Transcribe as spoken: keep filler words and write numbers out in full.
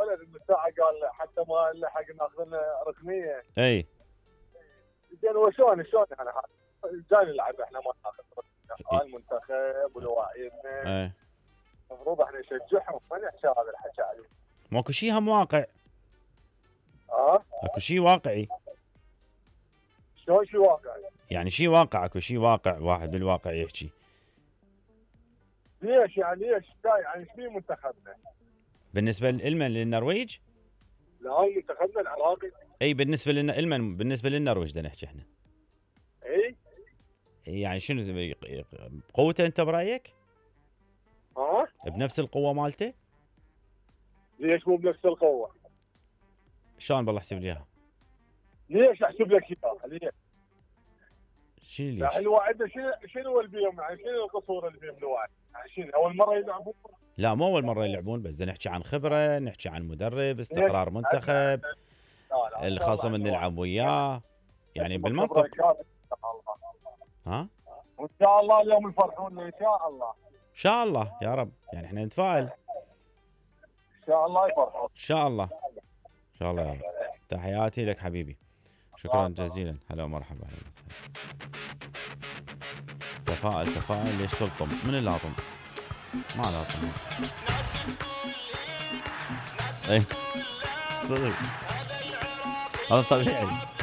ولد من ساعه قال حتى ما لحق ناخذ لنا ركنيه. اي زين وشلون شلون يعني جاي نلعب احنا ما ناخذ ركنيه المنتخب ولواعيبنا. اي المفروض احنا نشجعهم ما نحكي هذا الحكي عليه. ماكو شيء هم واقع. اه اكو شيء واقعي. شلون شيء واقعي؟ يعني شيء واقع اكو شيء واقع واحد بالواقع يحكي. ليش يعني ليش يعني ايش في منتخبنا؟ بالنسبه للمن للنرويج؟ لا منتخبنا العراقي. اي بالنسبه لنا المن بالنسبه للنرويج بدنا نحكي احنا. اي يعني شنو قوته انت برايك؟ ها؟ بنفس القوه مالته؟ ليش مو بنفس القوه؟ شلون بالله احسب لي اياها؟ ليش احسب لك اياها؟ ليش؟ شنو ليش؟ يعني الواعد شنو شنو اللي بيهم يعني شنو القصور اللي بيهم الواعد؟ يعني شنو اول مره يلعبون؟ لا مو اول مره يلعبون بس بدنا نحكي عن خبره، نحكي عن مدرب، استقرار منتخب، الخصم اللي نلعب وياه، يعني بالمنطق. ها؟ وان شاء الله اليوم يفرحونا ان شاء الله. ان شاء الله يا رب، يعني احنا نتفائل. ان شاء الله يفرحون. ان شاء الله. ان شاء الله يا رب. تحياتي لك حبيبي. شكرا جزيلا. هلا ومرحبا. اهلا وسهلا. تفائل تفائل. ليش تلطم؟ من اللي لاطم؟ ما لاطم. اي صدق هذا طبيعي.